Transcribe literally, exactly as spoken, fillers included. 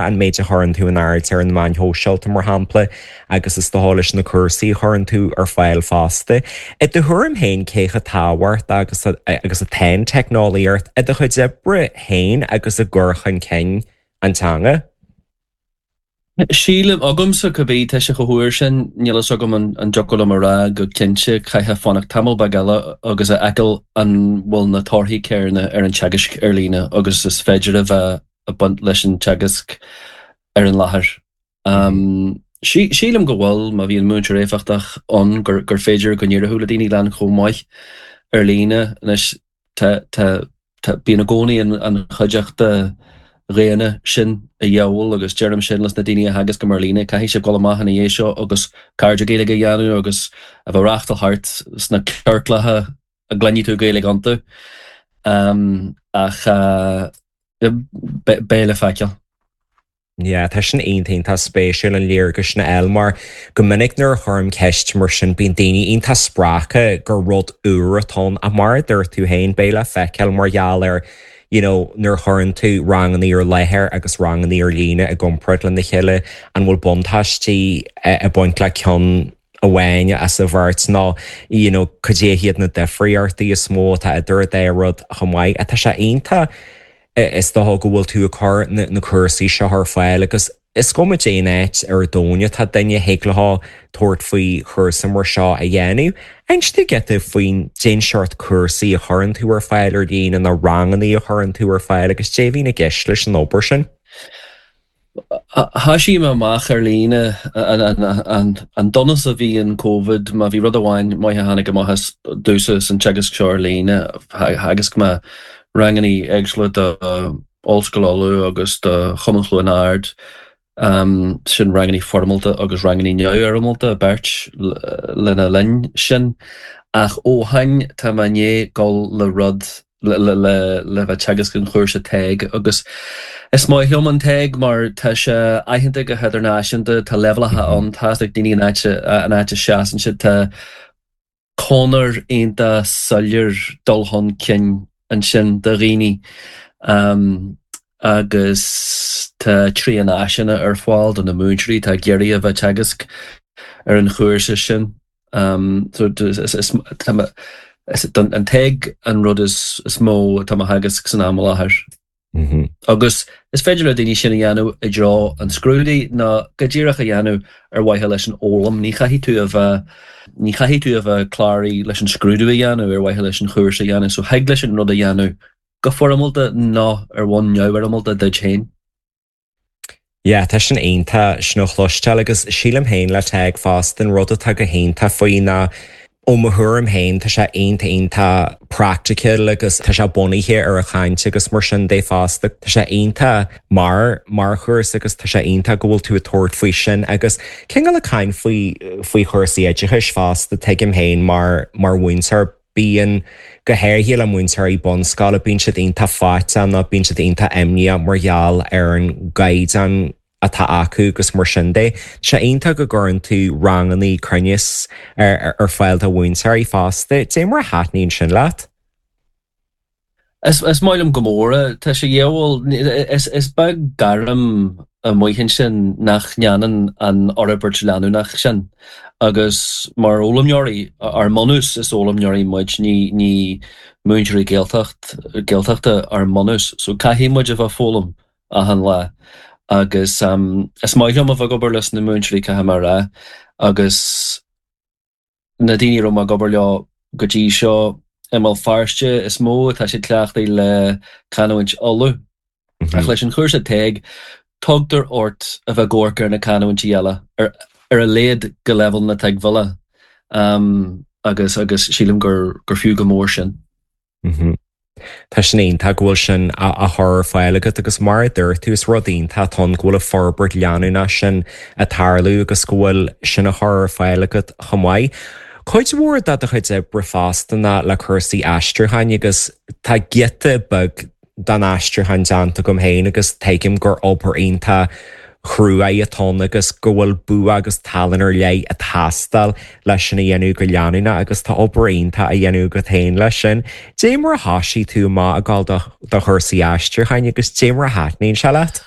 an méid a chuireann tú in airde ar na meáin shóisialta mar shampla agus is dócha leis na cúrsaí a chuireann tú ar fáil fosta. I do thuairim féin cé chomh tábhachtach agus agus atá an teicneolaíocht i do chuid oibre féin agus i gcur chun cinn an teanga? Sílim agamsa cibé tá sé chomh húr sin, níl a fhios agam an dtiocfadh liom a rá go cinnte, caithfidh fanacht tamall beag eile agus a fheiceáil an bhfuil na torthaí céanna ar an teagasc ar líne agus is féidir a bheith ag baint leis an teagasc ar an láthair. Sílim go bhfuil, má bhíonn múinteoir éifeachtach ann, gur gur féidir go n-éireodh le daoine lean chomh maith ar líne. Anois tá tá tá bíonn i gcónaí an an chuideachta dhaonna sin a dhíobháil agus deirim sin leis na daoine a theagascaim ar líne, caithfidh sibh dul amach ina dhiaidh seo agus cairde Gaeilge a dhéanamh agus a bheith ag reáchtáil thart sna ciorclacha a gcluinfidh tú Gaeilge iontu. Ach beidh le feiceáil. Yeah, tá sin iontach iontach spéisiúil an léargas sin a fháil mar go minic nuair a chuirim ceist mar sin bíonn daoine iontach spreagtha gur rud úr atá ann ach mar a dúirt tú féin beidh le feiceáil mar gheall ar you know nuair a chuireann tú ranganna ar láthair agus ranganna ar líne i gcomparáid lena chéile an bhfuil buntáistí ag baint le ceann amháin as an bheirt nó you know cad é hiad na difríochtaí is mó atá idir an dá rud chomh maith. Tá sé iontach is dócha go bhfuil tú ag cur na cúrsaí seo ar fáil agus is cuma cén áit ar domhan atá duine thig leo tabhairt faoi chúrsa mar seo a dhéanamh. Inis dúinn giota faoin cén seort cúrsaí a chuireann tú ar fáil ar líne nó ranganna a chuireann tú ar fáil agus cad é a bhíonn i gceist leis an obair sin. Thoisigh mé amach ar líne an donas a bhí in Covid má bhí rud amháin maith a tháinig amach as domhsa san teagasc seo ar líne theagasc mé ranganna éagsúla do Ollscoil Uladh agus do Chumann Chluain Ard sin ranganna foirmeálta agus ranganna neamhfhoirmeálta beirt lena linn sin ach ó shin tá mé i ndiaidh dul le rud le le le bheith teagasc an chúrsa TEG agus is maith liom an TEG mar tá sé aitheanta go hidirnáisiúnta, tá leibhéalacha ann, tá ag daoine an áit an áit a seasann siad, tá conair iontach soiléir dul chun cinn ansin do dhaoine agus tá trían áiseanna ar fáil do na múinteoirí, tá ag iarraidh a bheith teagasc ar an chúrsa sin. So is an TEG an rud is mó atá á theagasc san am i láthair. Agus is féidir le daoine sin a dhéanamh i dtreo an scrúdaithe nó go díreach a dhéanamh ar mhaithe leis an fhoghlaim. Ní chaithfidh tú a bheith ní chaithfidh tú a bheith cláraithe leis an scrúdú a dhéanamh ar mhaithe leis an chúrsa a dhéanamh, so thig leis an rud a dhéanamh go foirmeálta nó ar bhonn neamhfhoirmeálta duit féin. Yeah, tá sin iontach sin a chloisteáil agus sílim féin le TEG fosta an rud atá go hiontach faoi ná ó mo thuairim féin tá sé iontach iontach practical agus tá sé bunaithe ar an chaint agus mar sin de fosta tá sé iontach mar mar chúrsa agus tá sé iontach go bhfuil tú ag tabhairt faoi sin agus cineál ag caint faoi faoi chúrsaí oideachais fosta tuigim féin mar mar mhúinteoir bíonn go háirithe le múinteoirí bunscoile bíonn siad iontach faitíoch nó bíonn siad iontach imníoch mar gheall ar an gcaighdeán atá acu agus mar sin de. Sé iontach go gcuireann tú ranganna cruinneas ar ar fáil do mhúinteoirí fosta, Dé mar a thaitníonn sin leat? Is is maith liom go mór é. Tá sé dhiabhal is is beag gairm amuigh ansin nach ndéanann an fhorbairt leanúnach sin agus mar fhoghlaimeoirí ár mbunús is fhoghlaimeoirí muid ní ní múinteoirí Gaeltacht Gaeltachta ár mbunús so caithfidh muid a bheith foghlaim achan lá agus um, is maith liom a bheith ag obair leis na múinteoirí caithfidh mé a rá agus na daoine a raibh mé ag obair leo go dtí seo i mBéal Feirste is mó atá siad cleachtaithe le canúint Uladh. Ach leis an chúrsa TEG tugtar ort a bheith ag amharc ar na canúintí eile ar ar a laghad go leibhéal na tuigbheála um, agus agus sílim gur gur fiú go mór sin. Mm -hmm. Tá sin iontach go bhfuil sin á chur ar fáil agat agus mar a dúirt tú is rud iontach atá ann go bhfuil an forbairt leanúnach sin ag tarlú agus go bhfuil sin á chur ar fáil agat chomh maith. Cuid mhór de do chuid oibre fosta ná le cúrsaí aistriúcháin agus tá giota beag den aistriúchán déanta agam féin agus tuigim gur obair iontach cruaidh atá ann agus go bhfuil bua agus tallann ar leith ag teastáil leis sin a dhéanamh go leanúnach agus tá obair iontach á dhéanamh agat féin leis sin. Dé mar a thosaigh tú amach ag dul do do chúrsaí aistriúcháin agus dé mar a thaitníonn sé leat?